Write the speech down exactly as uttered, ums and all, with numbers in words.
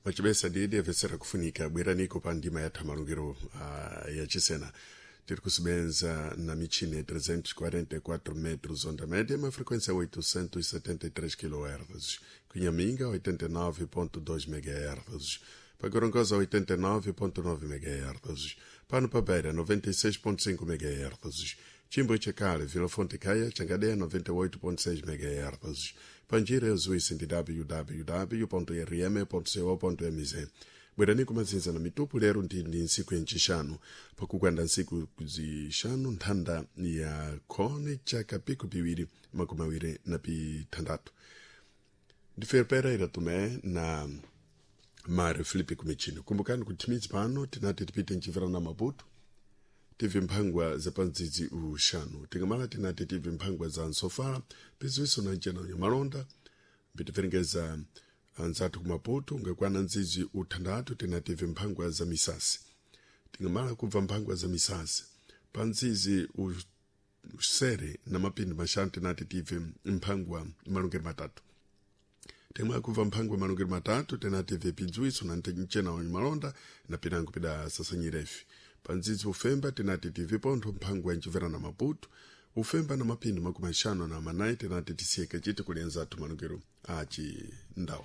Macibesa didi avesera kufunika bweraniko pa ndima ya thamalungiro uh, ya chisena tiri kusebenza na michini ya trezentos e quarenta e quatro metros onda média, uma frequência oitocentos e setenta e três quilohertz. Cunhaminga oitenta e nove ponto dois megahertz. Para Gorongosa oitenta e nove ponto nove megahertz. Pano Pabeira noventa e seis ponto cinco megahertz. Chimbo Chekale, Vila Fonte Caia, Changadeia noventa e oito ponto seis megahertz. Panjira Zuísse de w w w ponto r m ponto co ponto m z. Bwerani kumazinza na mitupu lero ndi ndi ntsiku yancixanu pakukwanda ntsiku zixanu nthanda ya khone chaka piku piwiri makumi awiri na pithandatu. Ndife Pereira Tomé na Mário Filipe Kumichino. Kumbukani kuti timidzi pano tinati tipite mchivera na Maputo tive mphangwa za pandzidzi uxanu, tingamala tinati tive mphangwa za nsofala piziwiso na ncena malonda mbitiverengeza anzathu ku Maputo ngakwana ndzidzi uthandathu tinative mphangwa za misasi, tingamala kubva mphangwa za misasi pa ndzidzi usere na mapindu maxanu tinati tive mphangwa malungiro matatu, tingamala kubva mphangwa malungiro matatu tinati pidziwiso na ncena malonda na pinango pida sasanyirefi. Pa ndzidzi ufemba tinati tive pontho mphangwa yancivera na Maputo ufemba na mapindu makumi axanu na manayi tinati tisiyeke citi kuli anzathu malungiro aci ndawu.